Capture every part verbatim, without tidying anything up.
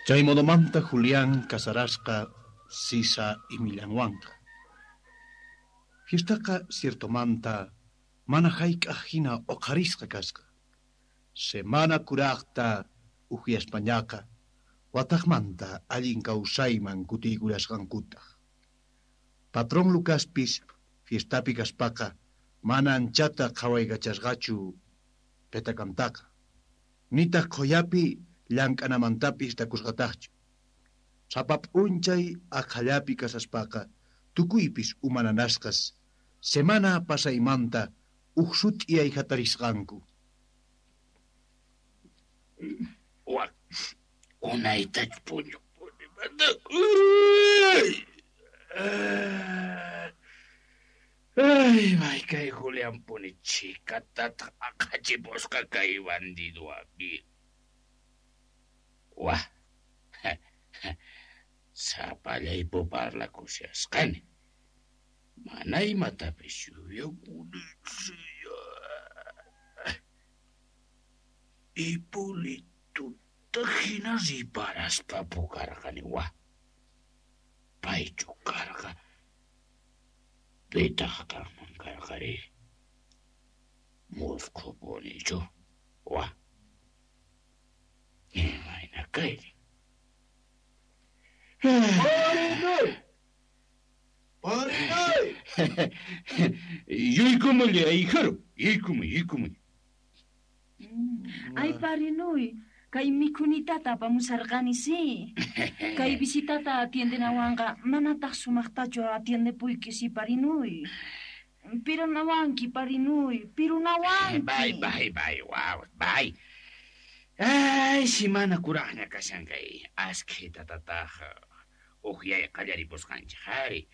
Chay modomanta Julián casarasqa Sisa imillanwanqa. Fiestaqa ciertomanta mana hayk'aq hina uqharisqa kasqa. Semana kuraqta uhyaspañaqa wataqmanta allin kawsayman kutiykullasqankutaq. Patrón Lucaspis fiestapi kaspaqa mana anchata qhawaykachasqachu petakantaqa. Nitaq qhuyapi llank'anamantapis takusqataqchu. Sapa p'unchay aqhallapi kasaspaqa tukuypis umananasqas semana pasaymanta uj sut'iyay hatarisqanku. Wak, unaytach puñupuni Ay, may kay Julianpuni chhikatataq aqhachipusqa kay bandido amigo. Wah, sapallaypu parlakushasqani. Mana imatapis yuyakunichu. Hipolituta hina riparaspa pukarqani wah. Paychu karqa, pitaq kanman karqari? Musqhupunichu wah. Imayna kayri? Parinoy! Parinoy! Yaykumuy, ahijaro, yaykumuy, yaykumuy. Ay, parinuy, kay mikhunitata apamusarqani, sí. Kay visitata atiendenawanqa manataq sumaqtachu atiendepuyki, sí, parinuy. Pirunawanki, parinuy, pirunawanki. Bay, bay, bay, waw, bay. Ay, simana kuraqña kashan kay askhitatataq uhyay qallaripusqanchik ari.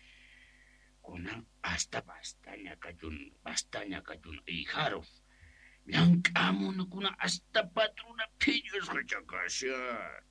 Kunan hasta bastaña kachun, bastaña kachun ahijaro. Llank'amunakuna hasta patrona phiñasqa kashan.